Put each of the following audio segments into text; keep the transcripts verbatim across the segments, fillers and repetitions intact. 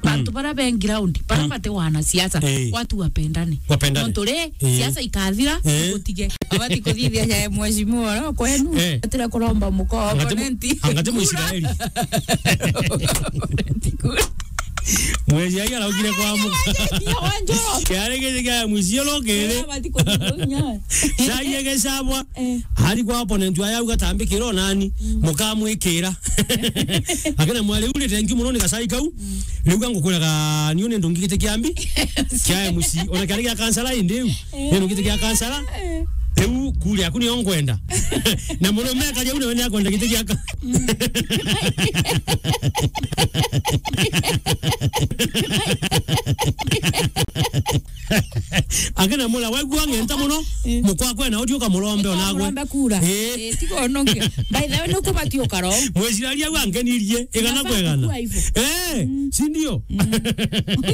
Bantu bara be ground, bara bate wanasiasa, eh, watu wapendane. Wapendane. Nontu ri, eh, siasa ikathira, eh, igutige. Abati kuthithia ya mheshimiwa oro kwenu, eh, atira kuromba muko opponent. Angati Muisraeli. Mwezi ai araugire kwa muka. Yari giti kia mucio rukiri. Abati kuthithia. Cai egesabwa. Eh. Ari kwa opponent wayo auga, "Tambikira o nani, mukamwikira." Akina mwari, "Riu ni thank you muno ni gacai kau." Mm. Riu ga ngukwiraga niu ni ndungigite kiambi kia M C, ona kiari gia kansara indi u. Eh. Ni ndungigite kia kansara. Eh. Riu kuri aku niyo ngwenda. Na murume akari au nawe ni akwenda giti gia ka- Akina mula, waigua ng'enta muno, eh, mukwa kwena udio ukamurombe onagwe. Ukamurombe kura. Eh. Eh, tiga ononge. By the way, nuku bati ukaro. Mwiciraria au angenirie, igana kwa igana. Unafaa kukua hivyo. Eh, mm, si ndio? Mm.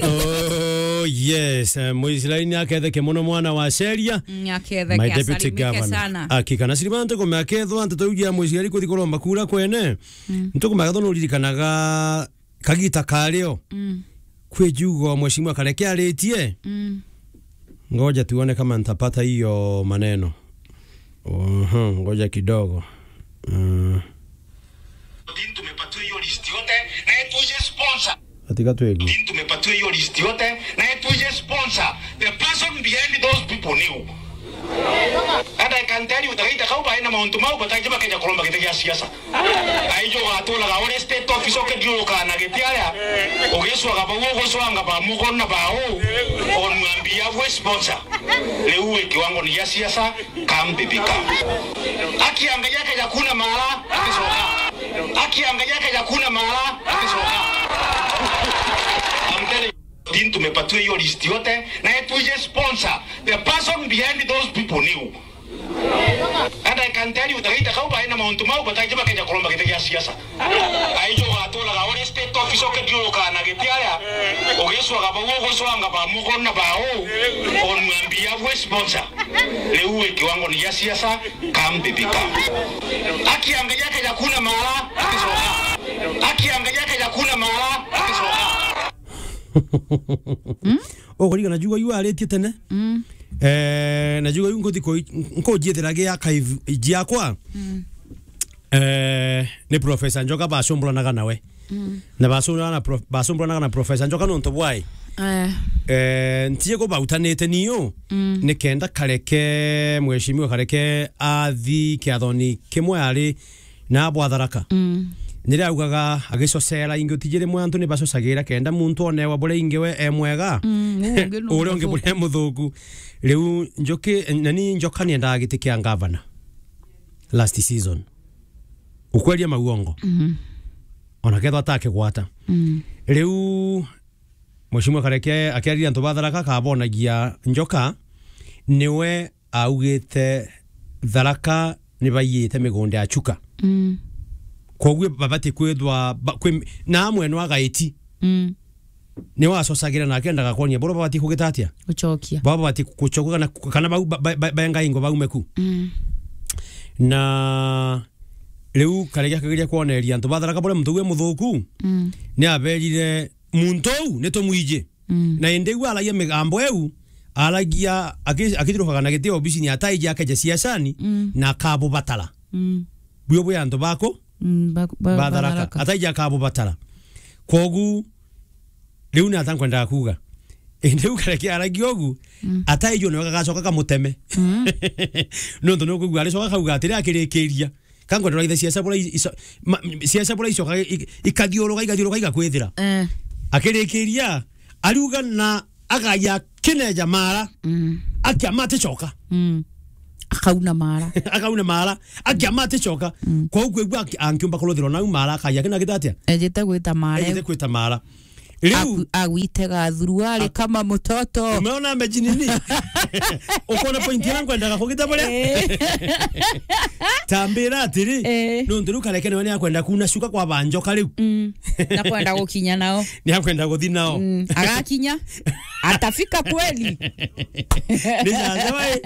Oh, yes. Eh, Mwiciraria ni aketheke muno mwana wa Sheria. Mm, aketheke. My deputy governor. Asalimike sana. Hakika. Na siriba ntukume akethwa nteto iu ya Mwiciraria kuthi kuromba kura kwene. Mm. Ntukume akethwa nuririkanaga kagita kario. Mm. Kwi jugo mheshimiwa Kareke aritie. Mm. Ngoja tuone kama nitapata hiyo maneno. Oho, ngoja kidogo. Mm. Odin, tumepatiwa hiyo list yote, na tuje sponsor. Atika twegu. Odin, tumepatiwa hiyo list yote, na tuje sponsor. The person behind those people ni u. And I can tell you, Taraita kau baina mauntu mau, bataiji bakeja kuromba giti gia siasa. Aijo ugaturaga uri state office ukithiurukaga na giti aria, ugicwaga bau ugucwanga ba mugo na ba u, on your behalf we sponsor. Riu wi kiwango ni gia siasa, come baby come. Akianga yake ya kuna mara, akicoka. Akianga yake ya kuna mara, akicoka. I'm telling you, Odin, tumepatiwa hiyo list yote, na tuje sponsor. The person behind those people ni u. And I can tell you, Taraita kau baina mauntu mau, bataiji bakeja kuromba giti gia siasa. Aijo ugaturaga uri state office ukithiurukaga na giti aria, ugicwaga bau ugucwanga ba mugo na ba u, on your behalf we sponsor. Riu wi kiwango ni gia siasa, come baby come. Akianga yake ya kuna mara, akicoka. Akianga yake ya kuna mara, akicoka. Ukurigana jugo yu aritie tene? Mm. Eh, na jugo yu nkuthi ku-, nkujiethera gi archive jiakwa. Mm. Eh, ni Professor Njoka bacumburanaga nawe. Mm. Na bacumburanaga na prof-, bacumburanaga na Professor Njoka nontu bwai. Eh. Eh, ntie ko bautanite niu, mm, ni kenda Kareke, mheshimiwa Kareke athi kiathoni kimwe ari na bwa Tharaka. Mm. Niria augaga agicocera ingi utiji rimwe antu ni bacocagira kenda muntu onewa buria ingi we e mwega. Mm, uu ungi ni uria ungi muthuku. Buria e muthuku. Riu Njoki, nani Njoka ni endaga giti kia ngavana last season. Ukweria mauongo. Mm. Ona kethwa atakigwata. Mm. Riu Mheshimiwa Kareke akiariria antu ba Tharaka akabonagia Njoka niwe augite Tharaka ni baiyite migunda ya Chuka. Mm. Koguo babati kwithwa ba-, kwi-, na amwe no agaiti. Mm. Ni wacocagira na akendaga kwonia boro babati kugita atia? Gucokia. Baba babati gucoka kana, kana bau ba-, ba-, ba-, benga ingo baume ku. Mm. Na riu Kareke akageria kwoneria antu ba Tharaka buria muntu uwe muthuku. Mm. Ni aberire muntu uu ni tumwiji. Mm. Na indi iu aragia migambo iu, aragia aki-, akithiurukaga na giti obisini ataiji akeja siasani, mm, na akabubatara. Mm. Buo bwi antu baku? Mm, ba-, ba-, ba Tharaka. Ba Tharaka. Ataiji akabubatara. Kogu, riu ni ata nkwendaga kuuga? Indi iu Kareke aragia ugu, mm, ataiji one gagacoka kamuteme. Mm. Nontu ni ukwigua aricoka kauga atiri akirikiria. Ka nkwenda ithe ciaca bura i-, ico-, ma-, ciaca bura icoka i-, ikathiuruka, ikathiuruka, igakwithira. Eh. Akirikiria, ariuga na agaya kineja mara. Mm. Akiama aticoka. Mm. Akauna mara. Akauna mara. Akiama aticoka. Mm. Kwa ukwigua aki-, angiumba kuruthirwa nau mara, akaya kina gitatia? Ejete gwita mara. Ejete gwita mara. Riu aku-, agwitega thuruari ak-, kama mutoto. Umeona mejinini? Ukona point ira nkwendaga kugita buria? Eh. Tambira atiri, eh, nontu riu Kareke niwe ni akwenda kuna cuka kwa ba Njoka riu. Mm. Na kwenda gukinya nao. Ni akwenda guthi nao. Mm. Agakinya. Atafika kweli? Ni sasa, wai.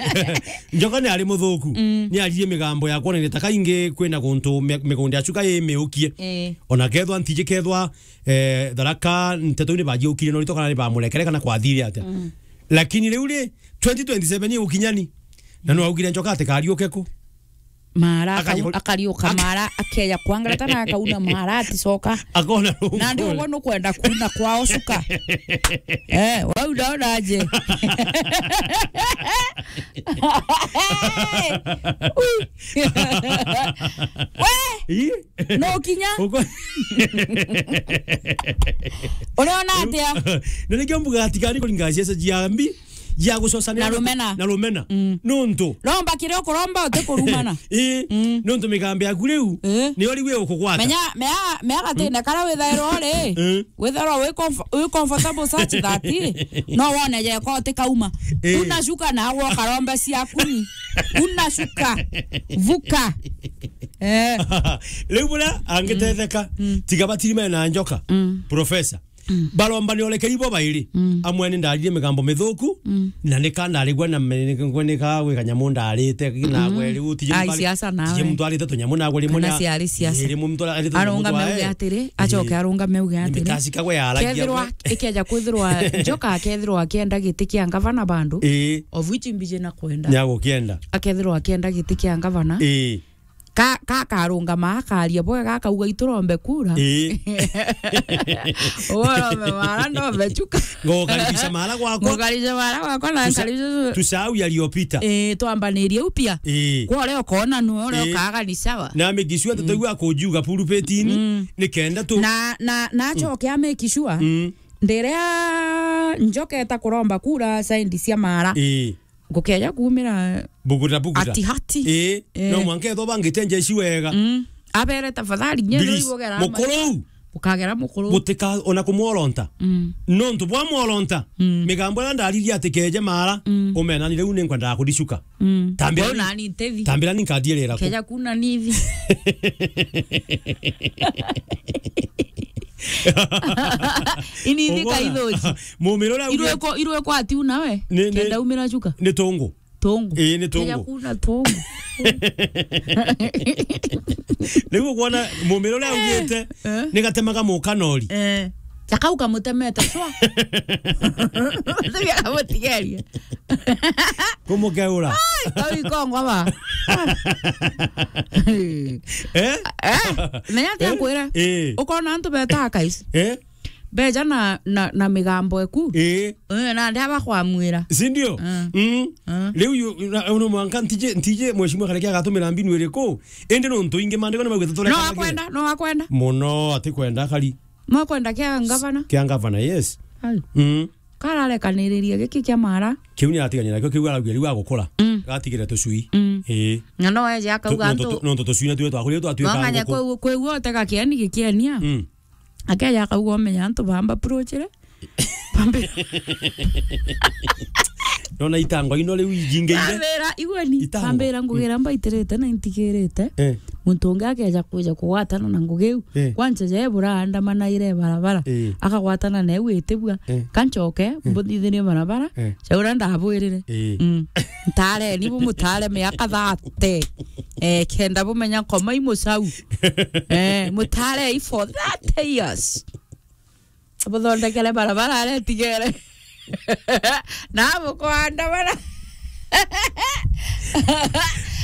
Njoka ni ari muthuku. Mm. Ni aririe migambo ya kwonania ta kaingi kwina guntu mi-, migunda ya cuka i miukie. Eh. Ona kethwa ntiji kethwa, eh, Tharaka nteto ni bajiukire no rito kana ni bamurekere kana kwathire atia. Mm. Lakini riu ri, twenty twenty-seven igukinyani. Na no augire Njoka ati kariuke ku. Mara akau-, akariuka mara, akeja kwangarata na akauna mara aticoka. Akona rungu. Na ndi ugwe nukwenda kuna kwao cuka. Eh, wau ndaona aje. Ui. We! Ii? No kinya? Uko- Uriona atia? Na nikio mbuga atikari kuringa ciaca cia mbi, cia gucocanira na rumena. Na rumena. Mm. Nuntu. Romba kiria ukuromba uti kurumana. Ii. Mm. Nuntu migambo yaku riu, ii, niyo riu igukugwata. Menya, mea, mea gatine karia withairwa ri. Mm. Withairwa wi comf-, wi comfortable such that, ii, no wone jeko utikauma. Ii. Una cuka na agwo karombe ciaku ni. Una cuka. Vuka. Eh. Riu buria angitetheka, mm, tiga batirime na Njoka. Mm. Professor. Mm. Baromba ni orekeri bo bairi. Mm. Amwe ni ndaririe migambo mithuku, mm, na nika ndarigwa na me-, nika gwi kanyamu ndarite, na gwe riu tije. Ai, mutwari-, siasa nawe. Tije mutwarite tunyamu na gwe rimwe. Kana na ciari siasa. Rimwe mutwari-, arite tunyamu. Arungame twa, uge atiri, acoke, eh, arungame uge atiri. Ni mitacika gwe yaragia. Kethirwa, gwe, ikeja kwithirwa, Njoka akethirwa akienda giti kia ngavana bandu, eh, of which mbiji na kwenda. Ni agukienda. Akethirwa akienda giti kia ngavana. Eh. Ka, ka karungama akaria bwega, akauga, "Iturombe kura." Ii. Uwe urombe mara, ndombe cuka. Ngukaribisha mara gwakwa. Ngukaribisha mara gwakwa na tusa-, nkaribisha cu-, tusahau yaliyopita. Ii, twambanirie upya. Ii. Kwa uria ukona nu, uria, ii, ukaga ni sawa. Na make sure, mm, tutaigua kujiuga pulpitini, mm, ni kenda tu. Na, na, na, mm, acoke a make sure. Mm. Ndiria Njoka eta kuromba kura side cia mara. Ii. Ngukeja kuumira buguta, buguta. Ati hati. Ii, eh, no mwanka ethwa bangite njeshi wega. Mm. Abere tafadhali, nye. Please, mukuru. Ukagera mukuru. Gutika ona kumworonta. Mm. Nontu bwa mworonta, mm, migambo iria ndaririe ati keje mara, mm, umenani riu ni nkwendaga kuricuka. Mm. Tambira. Wau ni, nani ntethi? Tambira ni nkadiirira ku. Keja kuna nithi. Ini ithi. Ugona? Kaithuji. Mumiro uria augite irweko, irweko ati una we? Ni, ni, kenda umira cuka. Ni tungu. Tungu. Ii, ni tungu. Keja kuna tungu. Riu ukwona mumiro uria augite, eh, ni gatemaga mukanori. Eh. Jakau kamutemete cwa. Tibia kamutigeria. Kumukeura. Ai, kau ikongo ba. Eh? Eh? Menya atia nkwire? Eh. Ukona antu betaga kais. Eh? Beja na, na, na migambo eku. Ii. Eh, na ndia bakwamwira. Si ndio? Mm. Mm. Mm. Riu yu, na, uno mwanka ntije, ntije mheshimiwa Kareke agatumira mbinu iriku? Indi nontu ingi maandiko ni maugite turekanagira. No akwenda, no akwenda. Muno atikwenda kari. Mwakwenda kia ngavana? Kia ngavana, yes. Ai. Mm. Kararekaniririe giki kia mara. Kiu ni atigania nakio, kiu araugia riu agukura. Mm. Gatigire tucui. Mm. Ii. Na no eje akauga tu-, nontu antu tu-, nontu tucui na tuo twakurire twatuika nganya nguku. Kwe, kwe guo utega kieni gikienia. Mm. Akeja akauga umenya antu bamba approachire. Bambi. Nona itango ino riu ijingeire. Ambira, igweni. Itango. Ambira ngugira, mm, mbaitirite na intigirite. Eh. Muntu ungi akeja kwija kugwatana na ngugi iu. Eh. Kwanza je buraandamanaire barabara. Eh. Akagwatana na iu itibua. Eh. Kanchoke, eh, mbuthithirie barabara. Eh. Caura ndabwirire. Eh. Mm. Ntareni bumutare miaka thirty. Eh, kenda bumenya nkoma i mucau. Eh, mutare i for thirty years. Buthondekere barabara aria itigere. Na bukwandamana.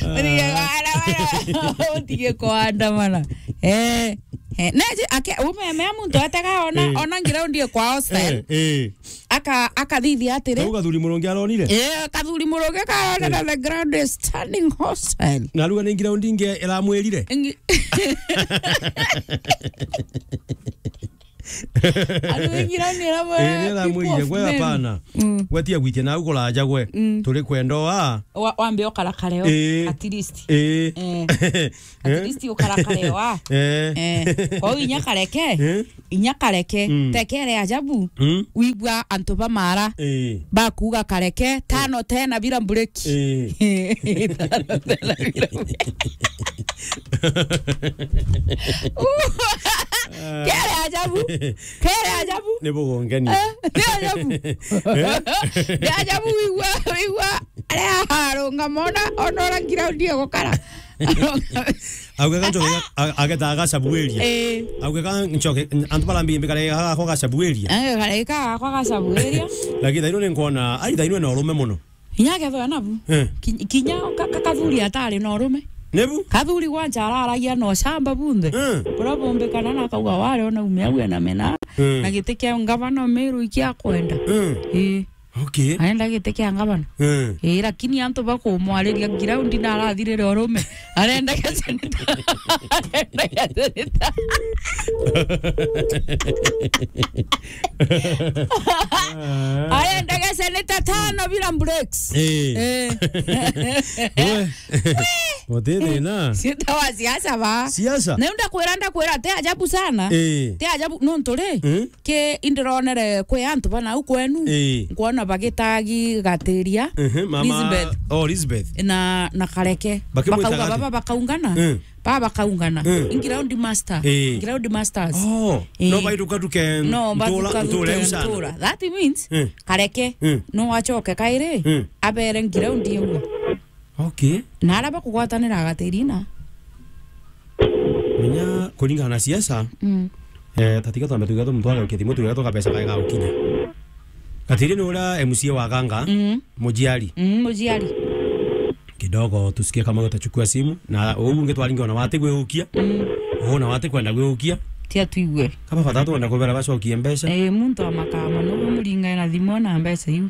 Utige kwandamana. Utige kwandamana. Eh. Eh, neje, ake, umemea muntu atega ona, eh, ona ground ye kwa hostel. Eh, eh. Aka-, akathithia atiri. Kau Kathuri Murungi aronire? Eh, Kathuri Murungi karone, eh, na the ground is turning hostile. Na ruga ni ground ingi iramwirire? Ingi-, Andu ingi ground iramwira, eh, ni aramwirire, gwe hapana. Mm. Gwe tia gwitia nau kuraja gwe. Mm. Turi kwenda oa. Wa-, wambe ukarakare o, eh, at least. Eh. Eh. At least ukarakare wa. Eh. Eh. Kwa hiyo inya kareke. Eh. Inya kareke. Mm. Tekere ajabu. Mm. Wigua antu ba mara. Eh. Bakuga kareke. Tano tena bila mbureki. Eh. Tano tena bila mbureki. Kere ajabu. Kere ajabu. Ni bugongeni. Eh, ni ajabu. Eh? Ni ajabu wigua, wigua. Aria arunga mona, ona ora ground ye gukara. Auge ka nchoke, a-, ageta agacabuiria. Eh. Auge ka nchoke, antu bara mbimbi kare gakwa gacabuiria. Eh, kare ka gakwa gacabuiria. Lakini thaino ni nkwona, ai, thaino ena urume muno. Inya akethwa nabu. Eh. Ki-, kinya ka-, ka-, kathuri atari na urume. Nebu? Kathuri gwancha araragia na ucamba bunthe. Eh. Buria bumbikana na akauga wari ona ume au ena mena. Eh. Na giti kia ngavana Meru ikia kwenda. Eh. Ii. Okay. Arenda giti kia ngavana. Eh. Ii, lakini antu bakumwariria ground na arathirire urume. Arenda gaseneta. Arenda gaseneta. Arenda gaseneta tano bila breaks. Eh. Eh. We. Gutiri na. Sita wa siasa ba. Siasa? Na ndakwira, ndakwira, ti ajabu sana. Eh. Ti ajabu, nontu ri, eh? Ki indironere kwi antu bana au kwenu. Eh. Nkwona bagitagi gatiria. Ehe, mama. Elizabeth. Oh, Elizabeth. Na, na Kareke. Bakimwita bakauga gati. Baba bakaungana. Eh. Baba bakaungana. Eh. In ground master. Eh. Ground masters. Oh, eh. No baithuka nduke. No, ntura, bathuka ntura nduke, sana. Ntura. That means, eh, Kareke, eh, no acoke kairi, eh, abere ground iu. Okay. Na aria bakugwatanira agatirina. Menya kuringana na siasa, mm, eh, tatiga twambe tuge tumutware ukithimo tuge tuga kabesa kae ga gukinya. Gatiri ni uria M C A wa Ganga, mm, Mujiari. Mm, Mujiari. Kidogo tusikie kama utachukua simu, na uu ungi twaringe ona wati gwiukia. Mm. Uu na wati kwenda gwiukia. Tia tuigue. Kaba bata twenda kubera bacokie mbeca. Eh, muntu wa makama, no muringa na thimu na mbeca iu.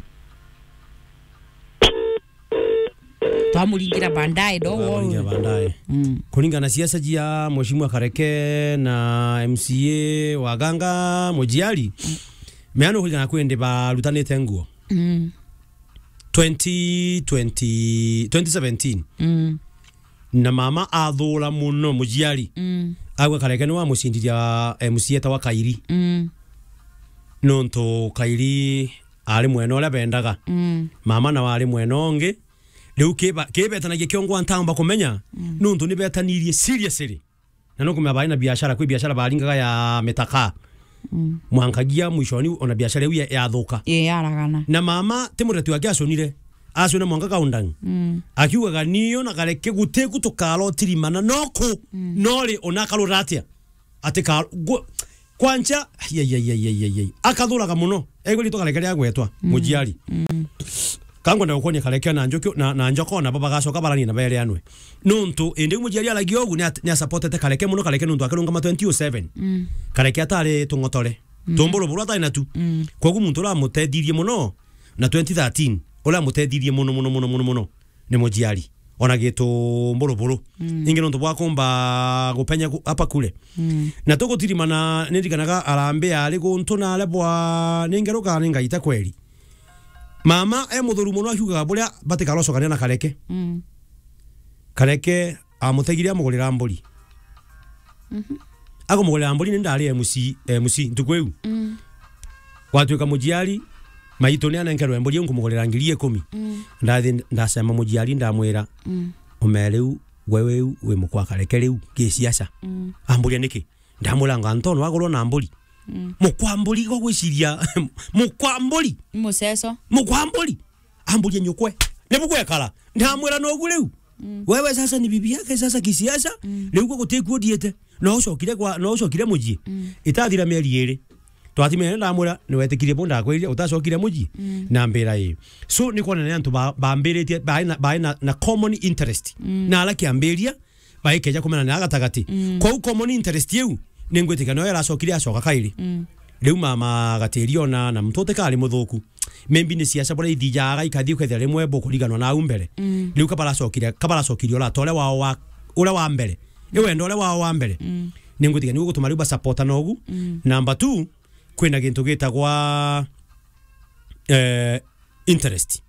Twamuringira baadaye, don't worry. Twamuringira baadaye. Mm. Kuringana na siasa jia Mheshimiwa Kareke na M C A wa Ganga Mujiari, mm, meano kuringana kwendi barutanite nguo. Mm. Twenty twenty, twenty seventeen. Mm. Na mama athura muno Mujiari. Mm. Agwe Kareke niwe amucindiria M C A ta wa Kairi. Mm. Nontu Kairi ari mwena uria bendaga. Mm. Mama nawe ari mwena ungi. Riu kiba-, kibetanagia kiongwa ntamba kumenya, mm, nontu nibetanirie seriously. Na nukumenya bari na biashara, kwi biashara baringaga ya mitaka. Mm. Mwankagia mwishoni ona biashara iu ya-, yathuka. Ii, yaragana. Na mama ti muteti wake aconire. Acona mwanka Kaundang. Mm. Akiugaga, "Niyo na Kareke gutiku tukarotirimana noku, mm, nori ona akarura atia?" Ati ka-, gu-, kwancha, ai, ai, ai. Akathuraga muno. Egwe ritwa Kareke ria gwetwa, mm, Mujiari. Mm. Ka ngwenda gukwonia Kareke na Njoki, na, na Njoko nabo bagacoka baranie na bereanwe. Nontu indi Mujiari aragia ugu ni at-, ni asupportete Kareke muno, Kareke nontu akirungama twenty oh seven. Mm. Kareke atari tung'otore. Mm. Tumburu buru atari natu. Mm. Kwogu muntu uria amutethirie muno na twenty thirteen, uria amutethirie muno, muno, muno, muno, muno, ni Mujiari. Ona gitu mburuburu. Mm. Ingi nontu bwa kumba gupenya ku-, apa kule. Mm. Na tugutirimana, nirikanaga arambe ari guntu na aria bwa, ningeruka ningaita kweri. Mama e muthuru muno akiugaga buria batikarocokania na Kareke. Mm. Kareke amutegire amugurira mburi. Mhm. Akumugurira mburi ni ndari M C, M C ntuku iu. Mm. Gwatuika Mujiari, maitu ni anenkerwe mburi iu nkumugurira ngiri ikumi. Mm. Ndathi ndacema Mujiari ndamwira, mm, "Umea riu, we riu wi mukwa Kareke riu, gisiasa." Mm. Amburia niki? Ndamwira, "Anga Antonio agurwa na mburi?" Mm. Mukwa mburi, igwa gwiciria, mukwa mburi. Muceco. Mukwa mburi. Amburia nyukwe. Nibu gwekara. Ndamwira nogu riu. Mm. Wewe sasa ni bibi yake sasa kisiasa, mm, riu gwa gutiku uthiite. No ucokire kwa, no ucokire mucii. Mm. Itathira mieri iri. Twatimene ndamwira, "Niwetikirie bu ndakwirire, utacokire mucii?" Mm. Na mbira ii. So, ni kwona ni antu ba-, bambiritie, baina, baina na common interest. Mm. Na ara kiambiria, baikeja kumenana gatagati. Mm. Kwou common interest iu, ningwitikia niyo iracokire acoka kairi. Mm. Riu mama Gatiri ona na muntu utikari muthuku. Maybe ni siasa buria ithijaga ikathi ukethira rimwe bukuriganwa na au mbere. Mm. Riu kabaracokire, kabaracokire urata uria wao wa, uria wa mbere. Ni wendo uria wao wa mbere. Mm. Ningwitikia niu gutuma riu basupportana ugu. Mm. Number two, kwina gintu gitagwa, eh, interest.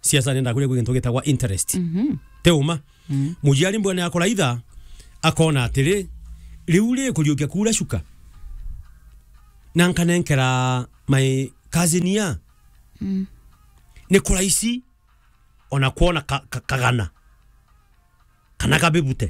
Siasa nenda kuria kwi gintu gitagwa interest. Mhm. Ti uma. Mm. Mujiari mbwene akuraitha, akona atiri, riu ri kuriukia kuura shuka. Na nkanenkera my cousin ya. Mm. Ni kuraici ona kwona ka-, ka-, kagana. Kana kabibute.